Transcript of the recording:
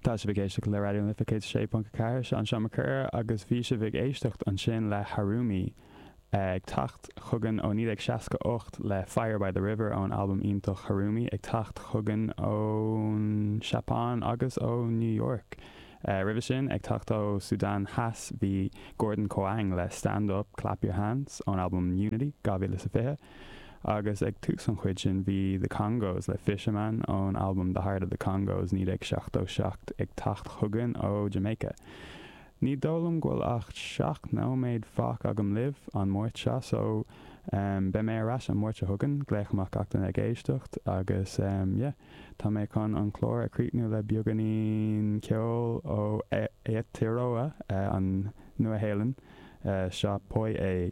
Tá sibh ag éisteacht le Raidió na Life 106.4, seo an Seán Mac Coir agus bhí sibh ag éisteacht ansin le Harumi ag teacht chugainn ó 1968 le Fire by the River ón albam iontach Harumi ag teacht chugainn ón Seapáin agus ó New York. Roimhe sin, ag teacht ó Sudan Theas bhí Gordon Koang le Stand Up, Clap Your Hands ón albam Unity, 2020. Agus ag tús an chuid sin bhí The Congos le Fisherman ón albam The Heart of the Congos, 1977 ag teacht chugainn ó Jamaica. Ní dóigh liom go bhfuil ach 7 nóiméad fágtha agam libh an Máirt seo so beidh mé ar ais an Máirt seo chugainn, glaoch amach gach duine ag éisteacht agus yeah tá mé chun an clár a chríochnú le beagáinín ceoil ó Aotearoa, an Nua-Shéalainn. Seo Poi E.